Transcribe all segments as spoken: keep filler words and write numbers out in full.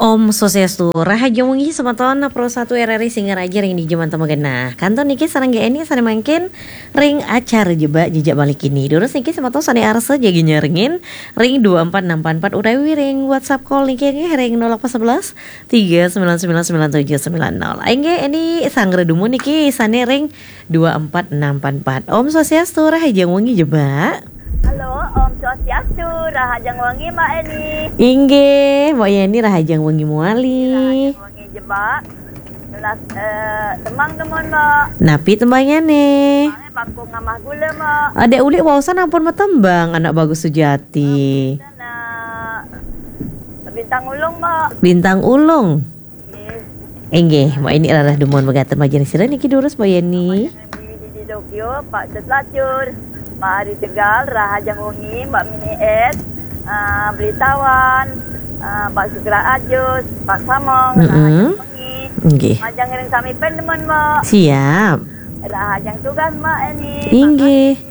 Om Swastiastu, rahajeng wengi semeton Pro Satu R R I Singaraja ring dija manten magenah. Kantun niki sareng Eni sane mangkin ring acara Jebak Jejak Bali kini. Durus niki semeton sane arsa jagi nyarengin ring dua empat enam empat empat utawi ring WhatsApp call niki nggih ring nol delapan sebelas tiga sembilan sembilan sembilan tujuh sembilan nol. Inggih Eni sanggra dumun niki sane ring dua empat enam empat empat. Om Swastiastu, rahajeng wengi Jebak. Halo, Om Swastiastu, rahajeng wengi Mbak Eni. Inggih, Mbak Yeni rahajeng wengi mewali. Rahajeng wengi Jebak. Nunas eh, tembang demen Mbak. Napi tembangyane? Tembange Bangkung Ngamah Gula Mbak. Adek Ulik waosan ampun matembang, anak bagus sujati. Nah, Bintang Ulung Mbak. Bintang Ulung. Inggih, Mbak Eni rarah dumun megaten majeng sira niki durus Mbak Yeni. Di Tokyo, Pak Cut Lacur, Pak Hari Tegal, Rahajeng Wengi, Mbak Mini S, eh, Beli Tawan, eh, Pak Sugra Ajus, Pak Samong, Mm-mm. Rahajeng Wengi. Inggih. Majeng ring sami pen demen, Mbak. Siap. Rahajeng tugas, Mbak Eni. Inggih. Makasih.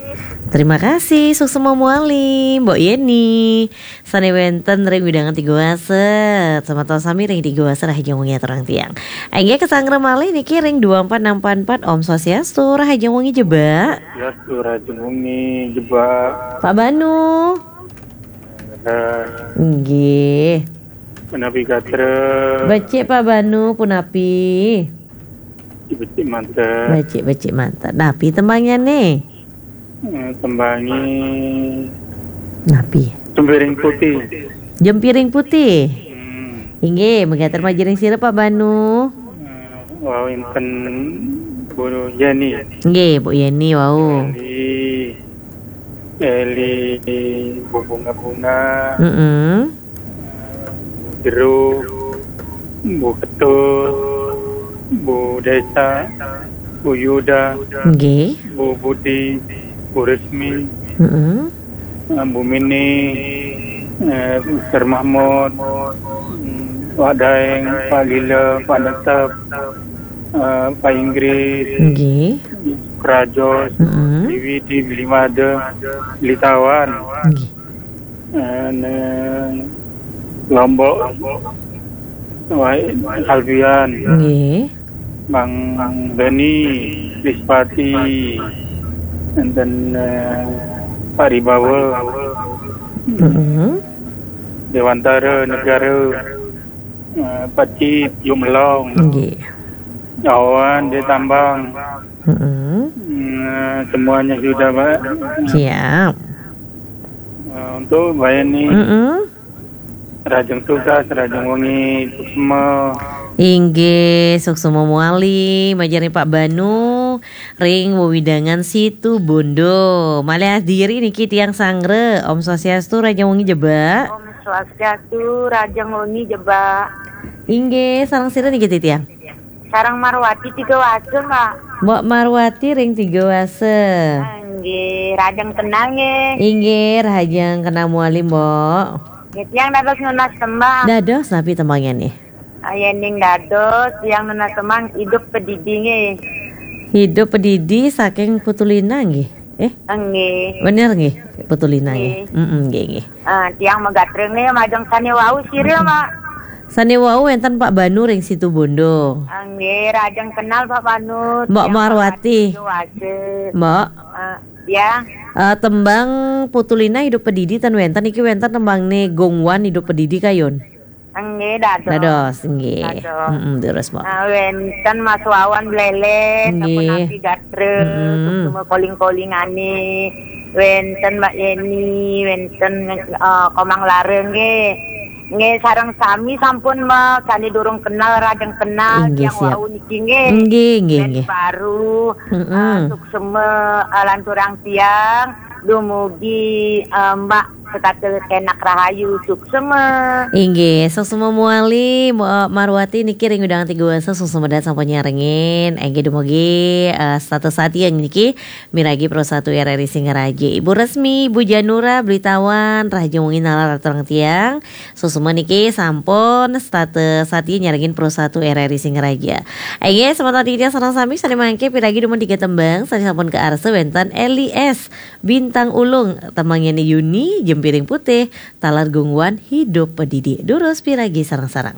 Terima kasih, suksma muali, Mbok Yeni. Sane wenten ring wewidangan Tiga Wasa. Semeton sami ring Tiga Wasa rahajeng wengi aturang tiang. Inggih kesanggra malih niki ring dua empat enam empat empat. Om Swastiastu, rahajeng wengi Jebak. Swastiastu, rahajeng wengi Jebak. Pak Banu. Eh, Inggih. Menapi gatra? Becik Pak Banu, punapi? Becik manten. Becik-becik manten. Napi tembangyane? Eh, tembangi Napi? Jempiring Putih. Jempiring Putih. Hmm. Inggih, megaten majeng ring sira Pak Banu. Eh, wau wenten Bu Yeni. Nggih, Bu Yeni wau. Eli, Eli, Bu Bunga-Bunga. Mm-mm. Jero, Bu Ketut, Bu Desa, Bu Yuda, Nggih. Bu Budi, Bu Resmi, Mm-mm. eh, Bu Mini, eh, Mister Mahmud, mm, Pak Daeng, Pak Lila, Pak Netep, eh, Pak Inggris, Nggih. Krajos, Mm-mm. Diwi di Beli Mada, Beli Tawan. Nggih. Eh, neng Lombok, Wai Alfian, Nggih. Bang Beni, Lispati, enten, eh, Pak Ribawa, Mm-mm. Dewantara Negara, eh, Pak Cip, Yuk Melong, Nggih. Awan, Dek Tambang. Mm-mm. Eh, semuanya sudah, Pak. Siap. Eh, untuk Mbak Eni, Mm-mm. Rahajeng tugas, rahajeng wengi, suksma. Inggih, suksma muali, majeng ring Pak Banu, ring wewidangan Situ Bondo. Malih diri niki tiang sanggra. Om Swastiastu, rahajeng wengi Jebak. Om Swastiastu, rahajeng wengi Jebak. Inggih, sareng sira niki titiang? Sareng Marwati Tiga Wasa, Mbak. Mbok Marwati ring Tiga Wasa. Nggih, rahajeng kenal nggih. Inggih, rahajeng kenal muali, Mbok. Nggih, tiang dados nunas tembang. Dados napi tembangnya nih? Ah, yening dados tiang nunas tembang Hidup Pedidi nggih. Hidup Pedidi saking Putulina nggih. Eh? Nggih. Bener nggih, Putulina nggih. Nggih. Mm-mm, nggih, nggih. Ah, tiang megatreng nggih majeng sane wau sira, Mbak. Sane wau wenten Pak Banu ring Situ Bondo. Ah, nggih, rahajeng kenal Pak Banu. Mbok Tiang Marwati. Tiga Wasa. Mbok. Ah, ya. Eh, tembang Putulina Hidup Pedidi ten wenten, iki wenten tembangne Gongwan Hidup Pedidi kayun. Nggih, dados. Dados, nggih. Dados. Mm-mm, terus, Mbok. Ah, wenten Mas Wawan Bleleh, Nggih. Sapunapi gatra, Mm-mm. Suksma koling-kolingane. Wenten Mbak Yeni, wenten, eh, Komang Lara nggih. Nggih, sareng sami sampun, Mbak, sane durung kenal, rahajeng kenal, Inggih, tiang siap. Wau niki nggih. Nggih, nggih, Band nggih. Baru, Mm-mm. eh, suksma, eh, lanturang tiang, dumugi, eh, Mbak setata kenak rahayu, suksma. Inggih, suksma muali, Mbok Marwati niki ring wewidangan Tiga Wasa, suksma dahat sampun nyarengin. Inggih dumugi, eh, setata satia niki miragi Pro Satu R R I Singaraja. Ibu Resmi, Ibu Janura, Beli Tawan, rahajeng wengi nalar aturang tiang. Suksma niki sampun setata satia nyarengin Pro Satu R R I Singaraja. Inggih, semeton titiang sareng sami sane mangke piragi dumun tiga tembang, sane sampun kaarsa wenten Eli S. Bintang Ulung, tembangne Yuni, Jempiring Putih, taler Gongwan Hidup Pedidi. Durus piragi sareng-sareng.